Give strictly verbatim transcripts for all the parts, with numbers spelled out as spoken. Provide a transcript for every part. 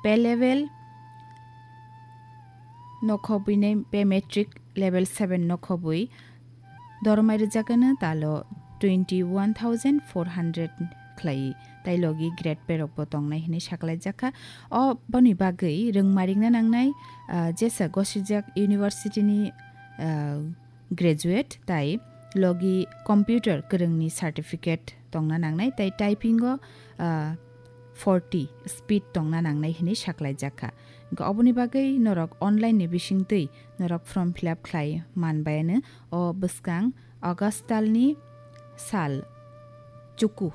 pay level no khobwi nai, pay matric level seven no khobwi dormai rwjakgano talo twenty one thousand four hundred khlai, tai logi grade pay rokbo tongnai hinwi saklaijakha. O boni bagwi rwngmarikna nangnai, ah, jesa gosijak university ni, ah, graduate tai logi computer kwrwngni certificate tongna nangnai, tai typing o, ah, forty speed tongna nangnai hinwi saklaijakha. Hwnkhe oboni bagwi norok online ni bisingtwi norok form fill up khlai manbayano o bwskang August talni sal chuku,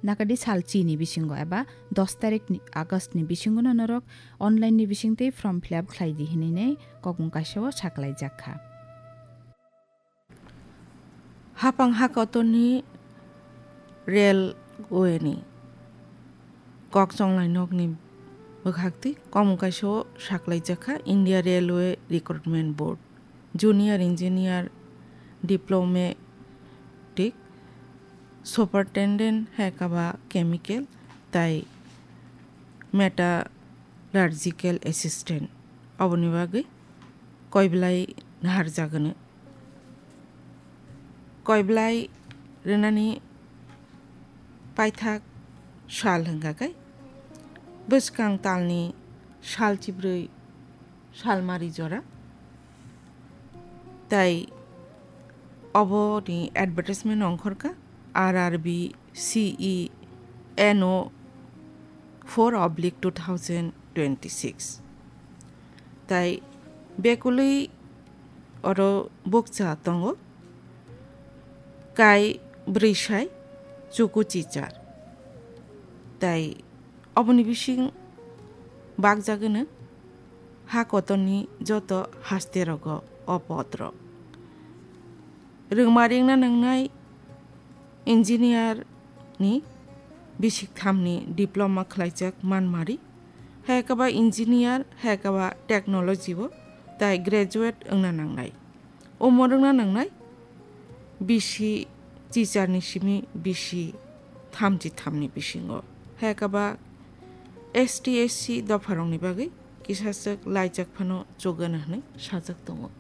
nakadi sal chini bisingo eba dos tarikni August ni bisingono norok online ni bisingtwi form fill up khlai di hinwi kokmung kaisa o saklaijakha. Hapang hakotorni railway ni kok chonglai nokni bwkhaktwi kokmung kaisa o saklaijakha India Railway Recruitment Board, Junior Engineer, Diplomatic, Superintendent hai kaba Chemical tai Metallurgical Assistant. Oboni bagwi koiblai naharjagwno. Koiblai rwnani paithak sal hwnkha khe bwskang talni sal chibrwi salmari jora. Tai oboni advertisement ongkhorkha R R B C E N O four oblique two thousand twenty-six. Tai bekulwi oro bukcha tongo kai bwrwi sai chuku chichar. Tai oboni bising bakjagwno ha kotorni joto haste rogo o pod rok. Rwngma ringna nangnai engineer ni bisik thamni diploma khlaijak manmari, hai kaba engineer, hai kaba technology o tai graduate wngna nangnai. Omo rwngna nangnai bisi chicharni simi bisi thamchi thamni bisingo. Hai kaba S T S C dopharokni bagwi kisaswk laijak phano chogano hwnwi sajak tongo.